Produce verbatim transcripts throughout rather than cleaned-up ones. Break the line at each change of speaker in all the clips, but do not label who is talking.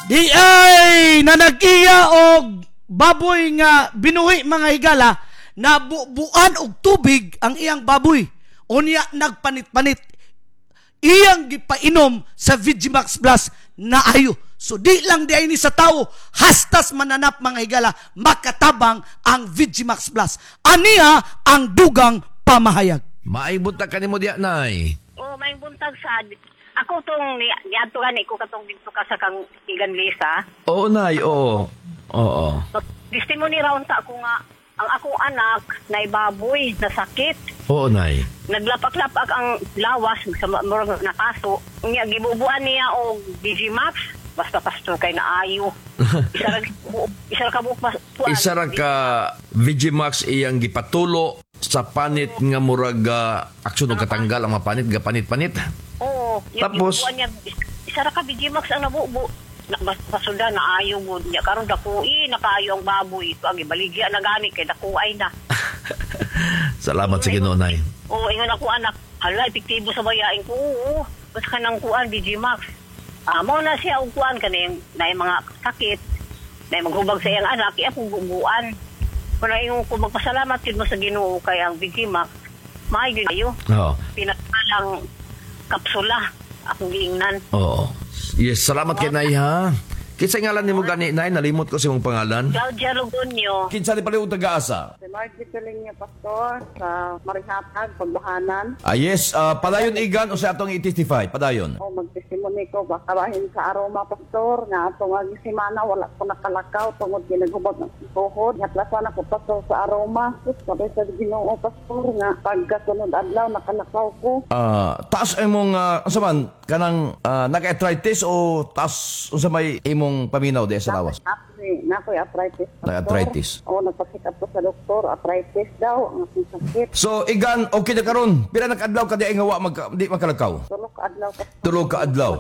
Di ay nanagiya og baboy nga binuhi, mga higala, nabubuan og tubig ang iyang baboy. Unya nagpanit-panit. Iyang gipainom sa Vigimax Plus, naayo. So di lang di ay ni sa tao, hastas mananap, mga higala, makatabang ang Vigimax Plus. Aniya ang dugang pamahayag.
Maayong buntag kanimo diya, Nay.
Oh, may buntag sad. Ako tong ni niadto gani ko katong didto ka sa kang Igan Lisa.
Oo, Nay, oo. Oo.
So, testimony ra unta ko nga ang akong anak na baboy na sakit.
Oo, Nay.
Naglapak-lapak ang lawas sa murag nakaso. Nya gibubuan niya og D J Max. Basta, pastor, kay naayo. Isa ra isa ra ka buok pas- puan.
Isa ra ka Vigimax iyang gipatulo sa panit nga murag uh, aksyon og katanggal ang mga panit, gapanit-panit.
Oo. Yung
Tapos?
Gibubuan niya, isa ra ka B G Max ang nabubo. Na, basta suda naayo mo niya karon dako i nakaayo ang baboy ito ang ibaligya na gani kay dako ay na.
Salamat sa Ginoo, Nay.
Oo, ingon ako anak, hala, epektibo sa bayain ko. Oo, basta ka ng kuan, B G Max. Ah, mo na siya og kuan kaning na mga sakit, na maghubag sa iyang anak, iya kong bubuan. Kung ingon ko, magpasalamat gid mo sa Ginoo kay ang B G Max, maayo gyud ayo.
Oo.
Pinakalang kapsula akong giingnan.
Oo. Yes, salamat kay Nay ha. Kinsa ngalan nimo gani, Nay? Nalimot ko sa imong pangalan.
Claudia Lugonio.
Kinsa ni pala yung taga-asa?
Si Margie Pilinga, Pastor, sa Marihatag, Pagbahanan.
Ah, yes, ah, padayon, Igan, o sa atong i-testify. Padayon.
O magtestimony ko, baka bahin sa aroma, Pastor, nga atong ang semana, wala ko nakalakaw, tungod ginaghubag ng tuhod. Haplasan ako, Pastor, sa aroma. Sus, sabay sa Ginoo, Pastor, nga pagkasunod adlaw, nakalakaw ko.
Ah, taas imong uh, unsa man kanang uh, nag-arthritis o taas unsa may imong paminaw di sa lawas?
Actually, nakoy arthritis, Pastor.
Nag-arthritis.
O, nagpa-check up ko sa doktor, arthritis daw, ang akong sakit.
So Igan, okay na karon. Pila na kaadlaw ka di ay nga wa mag, di makalakaw?
Tulo ka adlaw, Pastor.
Tulo ka adlaw.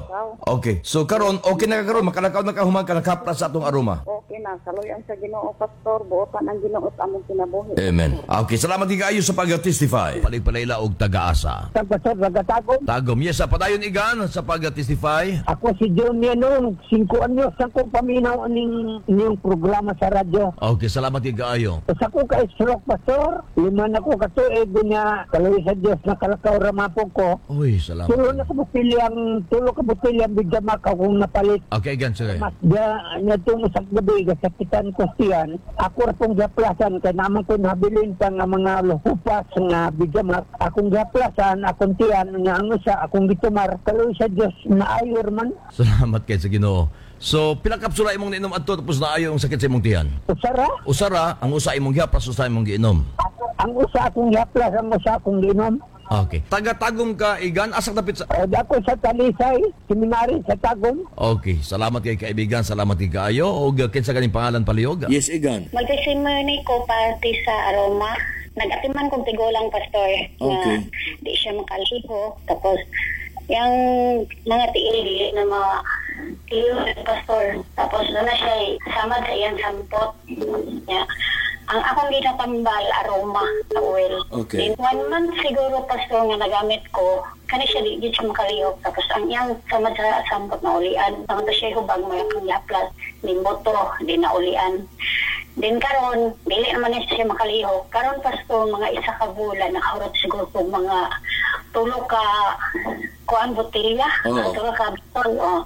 Okay. So karon okay na ka karon, makalakaw na ka human ka nakaplas sa atong aroma.
Okay na, saluyan sa Ginoo, Pastor, buotan ang Ginoo sa among kinabuhi.
Amen. Okay, salamat kaayo sa pag-testify. Palig-palayla og taga-asa.
Sa Pastor, taga-Tagum.
Tagum. Yes, sa padayon, Igan, sa pag-testify.
Ako si Junior noon, singko anyos ako paminaw ning niyong programa sa radyo.
Okay, salamat kaayo.
Sa ko ka stroke, Pastor, lima na ko katuig niya, kaloy sa Diyos nakalakaw ramapog ko.
Uy, salamat.
Tulo na ka botilyang, tulo ka botilyang bigamak akong napalit.
Okay, Igan, sige.
Mas dia niya sa gabi gasakitan ko siyan. Ako ra pong gaplasan kay naman ko nabilin pa nga mga hupas nga bigamak. Akong gaplasan, akong tiyan nga ang usa akong gitumar. Kaloy sa Diyos naayor man.
Salamat kay sa Ginoo. So, pila kapsula imong niinom adto tapos naayo ang sakit sa imong tiyan?
Usara.
Usara, ang usa imong gihaplas, usa imong giinom.
Ang usa akong gihaplas, ang usa akong giinom.
Okay. Taga-Tagum ka, Igan, asa dapit sa?
O dako sa Talisay, seminary sa Tagum.
Okay, salamat kay kaibigan, salamat kay kaayo. Og uh, kinsa ganing pangalan palihog?
Yes, Igan.
Mag-testimony ko parte sa aroma. Nag-atiman kong tigulang, Pastor, nga
Okay.
di siya makalihok. Tapos, yung mga tiil dili na mga tiil, Pastor. Tapos, doon na siya samad sa iyang sampot. Ya. Ang akong ginatambal, aroma sa oil.
Okay.
Then, one month siguro, Pastor, nga nagamit ko, kani siya di, di siya makalihok. Tapos, ang iyang samad sa sampot na ulian. Tama siya hubag mo yung yaplas, din boto, di na ulian. Then karon, dili naman na siya makalihok. Karon, Pastor, mga isa ka bulan, nakahurot siguro ko mga tulo ka kuan botelya,
Oo.
tulo ka botol, oh.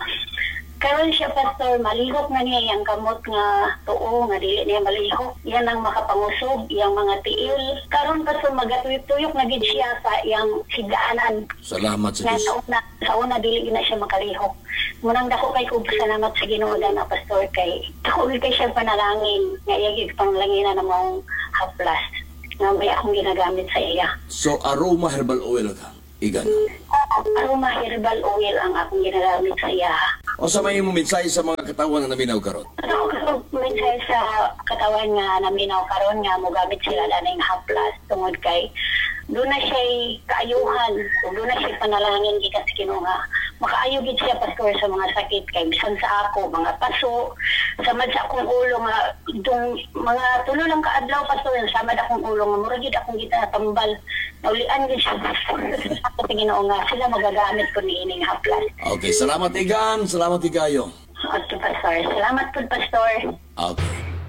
Karon siya, Pastor, malihok na niya yung kamot nga tuo, nga dili niya malihok. Yan ang makapangusog, yung mga tiil. Karon, Pastor, magatuyok-tuyok na gid siya sa iyang higaanan.
Salamat sa
Nga
Diyos.
sa una, sa una dili na siya makalihok. Munang dako kay kog salamat sa Ginoo na, Pastor, kay dako gid kay siya panalangin nga iya gid panglanginan na maong haplas nga may akong ginagamit sa iya.
So, aroma herbal oil ka, Igan.
Aroma herbal oil ang akong ginagamit sa iya.
O sa may imong mensahe sa mga katawan nga naminaw karon?
Ako mensahe sa katawan nga naminaw karon nga mogamit sila ning haplas tungod kay doon na siya kaayuhan ug doon na siya panalangin gikan sa Ginoo nga makaayo gid siya, Pastor, sa mga sakit kay bisan sa ako mga paso, samad sa akong ulo nga dong mga tulo lang ka adlaw, Pastor, samad akong ulo nga mura gid akong gitambal, naulian gid siya, Pastor. Ako sa Ginoo nga sila magagamit ko niining haplas.
Okay, salamat, Igan, salamat kaayo.
Okay, Pastor. Salamat po, Pastor.
Okay.